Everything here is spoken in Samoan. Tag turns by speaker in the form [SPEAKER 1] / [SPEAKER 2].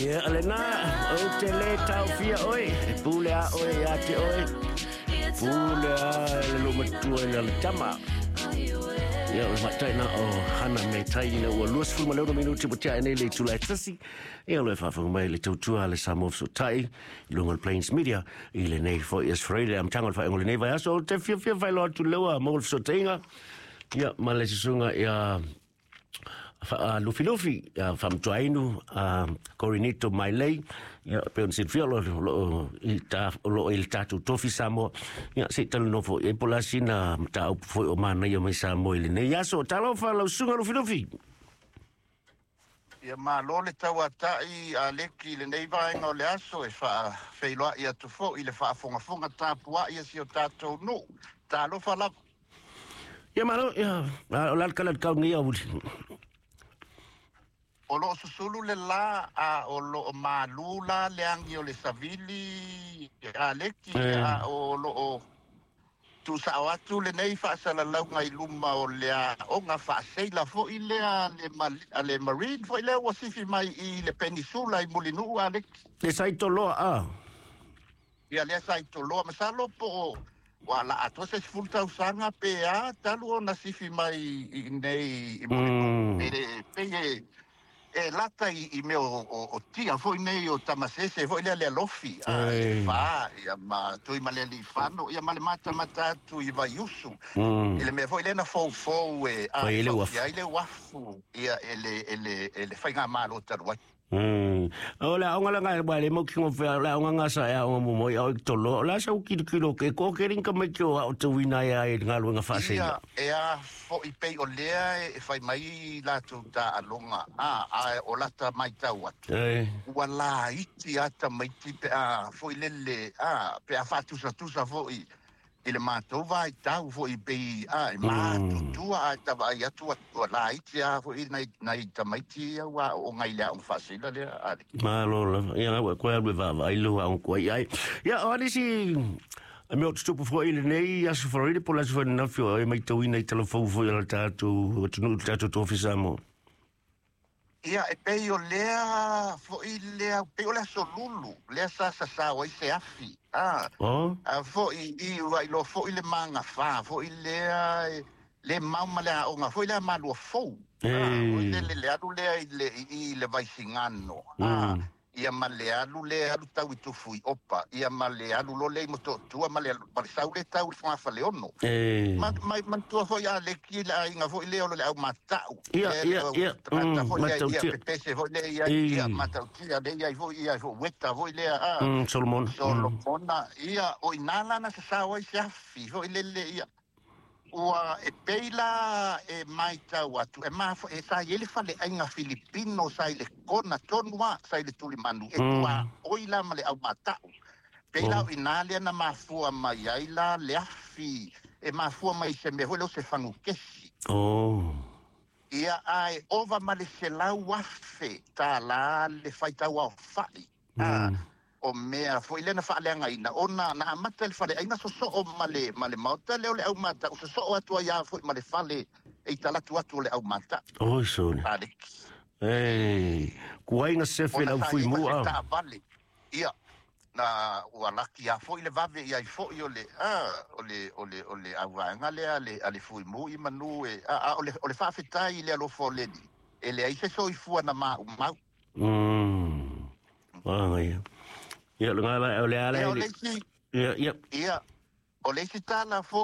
[SPEAKER 1] Ia, lena, ou te lē taofia oe, e pule a oe ia te oe, pule a le loomatua i le tama. Ia, o le faataina o Hana me Tai ina ua 26 minuti ua tea nei le itula e 1. Ia, o lo e faafofoga mai le tautua a le Samoa Fesootai i luga o le Plains Media i lenei foi Aso Faraile, amataga o le faaiuga o lenei vaiaso. Ou te fiafia faailoa atu lea ua maua le fesootaiga, ia, ma le susuga ia Lufilufi, Faamatuainu, Corinito Mailei, ia, pei ona silafia o lo o i le tatou tofi Samoa, ia, se i talanoa foi i ai po o le a sina mataupu foi o manaia mai Samoa i lenei aso. Talofa lau susuga Lufilufi.
[SPEAKER 2] Ia malo le tauata'i a Leki i lenei vaega o le aso e faafeiloa'i atu foi i le faafogafoga tapua'i a si o tatou nuu. Talofa lava.
[SPEAKER 1] Ia malo, ia, o le a le tala i le tau nei aoauli?
[SPEAKER 2] O lo o susulu le la a o lo o malū la le agi o le savili a Leki a o lo o tuusao atu lenei faasalalauga i luma o le aoga faaseila foi lea a le Marine foi lea ua sifi mai i le Penisula i Mulinuu a Leki.
[SPEAKER 1] Le sa i Toloa a?
[SPEAKER 2] Ia lea sa i Toloa, masalo po o ua laa atoa se 10 tausaga pe a talu ona sifi mai i nei i Mulinuu. E pei e lata i mea o tia foi nei o Tamasese foi lea le alofi a le fa ia ma Tuimalealiifano ia ma le matamata atu i Vaiusu i le mea foi lea na foufou e
[SPEAKER 1] Fai ai le uafu.
[SPEAKER 2] Ai le uafu ia e le faigamalo talu ai.
[SPEAKER 1] O le aoga la ngai le mau kingo fe le aoga nga sa e aoga mo moi au i tolo. O le a sau kilo ke ko ke ringa mai ki o au te wina ia i ngā luenga whaaseila.
[SPEAKER 2] Ia, e a foi pei o lea e fai mai latou taaloga a o lata matau atu. Ua laiti a tamaiti pe a foi lele a pe a faatusatusa foi i le matou vaitau foi pei a e matutua a tavaai atu ua laiti a foi nai tamaiti ia ua aooga i le aoga faaseila lea a le.
[SPEAKER 1] Malo lava. Ia ngau e koe alu e vaavaai lo aoga kua i ai. Ia, o anisi a mea o tutupu foi i lenei Aso Faraile po o le aso ananafi o e matauina i talafou foi o le tatou atunuu i le tatou tofi Samoa.
[SPEAKER 2] Ia, e pei o lea foi lea, pei o le aso Lulu, lea sa sasao ai se afi. A, a foi i ua iloa foi le magafā foi lea le mau ma le aoga foi lea malua fou. A, o le alu lea i le Vaisigano. A, ia ma le alu le alu tau i Tufuiopa, ia ma le alu lo le i Motootua ma le sau le tau i le Fogafaleono. Ma manatua foi a Leki le aiga foi lea o le au mata'u.
[SPEAKER 1] Ia, ia, ia.
[SPEAKER 2] Tagata foi lea ia pepese foi lea ia ia matautia lea ia foi ia foi weta foi lea a.
[SPEAKER 1] Solomon.
[SPEAKER 2] Solomona ia o ina la na sasao ai se afi foi lele ia. Ua e pei la e matau atu e ma e sa i ai le faleaiga Filipino sa i le kona tonu a sa i le tulimanu e tua oi la ma le au mata'u. Pei la o ina lea na mafua mai ai la le afi e mafua mai se mea foi lea o se fagukesi. Ia ae ova ma le $100,000 le faitau aofa'i. O mea foi lea na faaleagaina ona na amata le faleaiga sosoo ma le maota lea o le au mata'u sosoo atu ai a foi ma le fale e i talatu atu o le au mata'u.
[SPEAKER 1] Oi sone.
[SPEAKER 2] Alex.
[SPEAKER 1] Ei, kuai nga sefe
[SPEAKER 2] Ona
[SPEAKER 1] lau
[SPEAKER 2] sa
[SPEAKER 1] fui
[SPEAKER 2] i ai ma
[SPEAKER 1] mu
[SPEAKER 2] se
[SPEAKER 1] a.
[SPEAKER 2] taavale. Ia, na ua laki a foi le vave i ai foi o le a o le auvaega lea a le fuimu i manu e a o le faafetai i le alofa o le Alii e leai se soifua na maumau.
[SPEAKER 1] Ah, ia. Ia, le ngala o le ala
[SPEAKER 2] Ia o
[SPEAKER 1] le.
[SPEAKER 2] le isi
[SPEAKER 1] Ia, ia.
[SPEAKER 2] Ia o le isi tala foi.